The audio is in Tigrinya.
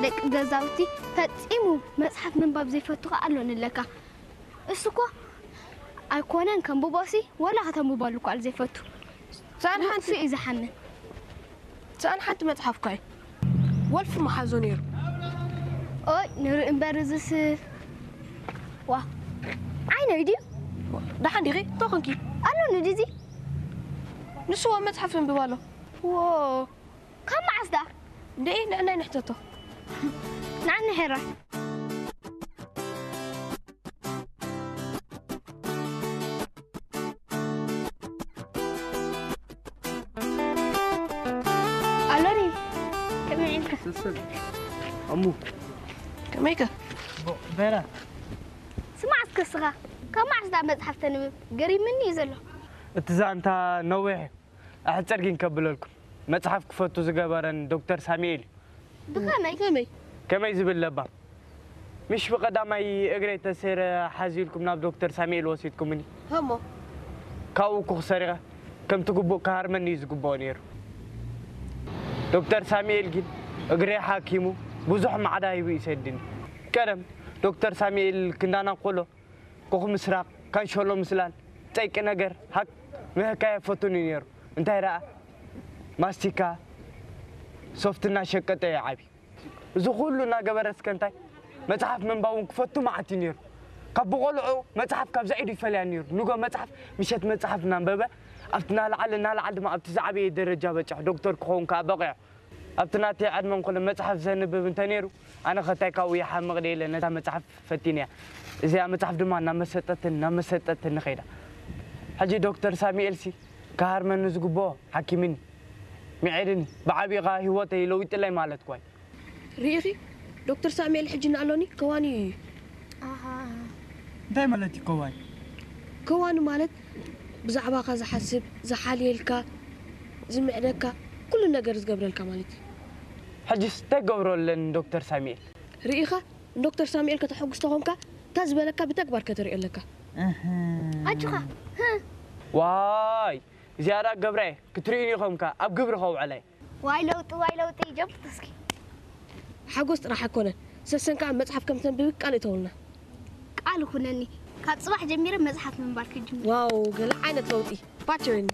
ደቂ ገዛውቲ ፈጺሙ መጽሓፍ ምንባብ ዘይፈቱ ከኣ ኣሎ ንለካ። እሱ እኮ ኣይኮነን ከንብቦሲ፣ ወላ ከተንብበሉ እኳ ዘይፈቱ። ሳን ሓንቲ ንሱ እዩ ዝሓምን። ሳን ሓንቲ መጽሓፍ እኳ እዩ ወልፊ መሓዞ ነይሩ። ኦይ፣ ንርኢ እምበር እዝስ። ዋ፣ ዓይነይ ድዩ? ደሓን ዲኺ? እንታይ ኾንኪ? ኣሎ ንድዚ። ንሱ ዋ መጽሓፍ የንብብ ኣሎ። ዎ፣ ካብ መዓስ ደኣ? እንዴ፣ ንዕናይ ንሕተቶ። ንዓኒ ሄራ። ኣሎኒ፣ ከመይ ኢልካ? ስስል። ኣሙ። ከመይከ? ቦ-፣ ቤራ። ስማዕ እስከ እስኻ፣ ካብ መዓስ ደኣ መጽሓፍ ተንብብ? ገሪምኒ እዩ ዘሎ። እቲ ዛንታ ነዊሕ እዩ። ኣሕጽር ግን ከብለልኩም። መጽሓፍ ክፈቱ ዝገበረን ዶክተር ሳሙኤል እዩ። ብኸመይ? ከመይ? ከመይ ዝብል ለባም። ምሽ ብቐዳማይ እግረይ ተሰይረ ሓዚልኩም ናብ ዶክተር ሳሙኤል ወሲድኩምኒ። እሞ? ካብኡ እኮ ክሰሪቐ ከምቲ ግቡእ ክሃርመኒ እዩ ዝግብኦ ነይሩ። ዶክተር ሳሙኤል ግን እግረይ ሓኪሙ ብዙሕ ማዕዳ ሂቡ ይሰድኒ። ቀደም ዶክተር ሳሙኤል ክንዳና ከሎ ኮኹ ምስራቕ፣ ካንሸሎ ምስላል፣ ጸይቂ ነገር፣ ሃክ ምህካይ ኣይፈቱን እዩ ነይሩ። እንታይ ደኣ ማስቲካ፣ ሶፍት እናሸቀጠ እዩ ዓብዩ። እዚ ኩሉ እናገበረ እስከ እንታይ መጽሓፍ ምንባብ እውን ክፈቱ መዓት እዩ ነይሩ። ካብ ብቆልዑ መጽሓፍ ካብዛ ኢዱ ይፈልያ ነይሩ። ንጎ መጽሓፍ፣ ምሸት መጽሓፍ እናንበበ ኣብቲ እናለዓለ እናለዓለ ድማ ኣብቲ ዝዓበየ ደረጃ በጽሑ። ዶክተር ክኸውን ከኣ በቒዑ። ኣብቲ ናተይ ዕድመ እንኮሎ መጽሓፍ ዘንብብ እንተ ነይሩ፣ ኣነ ከታይ ካብኡ ይሓምቕ ደይለ ነታ መጽሓፍ ፈቲነያ። እዚኣ መጽሓፍ ድማ እናመሰጠትን እናመሰጠትን ከይዳ። ሕጂ ዶክተር ሳሙኤልሲ ክሃርመኒ ዝግብኦ ሓኪምኒ፣ ምዒርኒ፣ ብዓቢኡ ከኣ ህይወተይ ለዊጥለይ ማለት እኳ እዩ። ርኢኺ? ዶክተር ሳሙኤል ሕጂ ንኣሎኒ ከዋኒ እዩ። ኣሃ። እንታይ ማለት እዩ ከዋኒ? ከዋኒ ማለት ብዛዕባኻ ዝሓስብ፣ ዝሓልየልካ፣ ዝምዕደካ፣ ኩሉ ነገር ዝገብረልካ ማለት እዩ። ሕጅስ እንታይ ገብሮ ኣለኒ ዶክተር ሳሙኤል? ርኢኻ? ንዶክተር ሳሙኤል ከተሐጉስ ተኾንካ፣ እታ ዝበለካ ብተግባር ከተርእዮ ኣለካ። እህ። ኣጆኻ። ህህ። ዋይ፣ ዝያዳ ገብረ ክትርእዩኒ ኢኹም ከ ኣብ ግብሪ ከውዕለ። ዋይ ለውጢ፣ ዋይ ለውጢ፣ ጀምር እስኪ። ሓጎስ ጥራሕ ኣይኮነን፣ ሰሰን ከኣ መጽሓፍ ከም ተንብቢ ቃል እተውልና። ቃል ይኹነኒ፣ ካብ ጽባሕ ጀሚረ መጽሓፍ ምንባር ክጅምር። ዋው፣ ገለ ዓይነት ለውጢ። ባቸረኒ።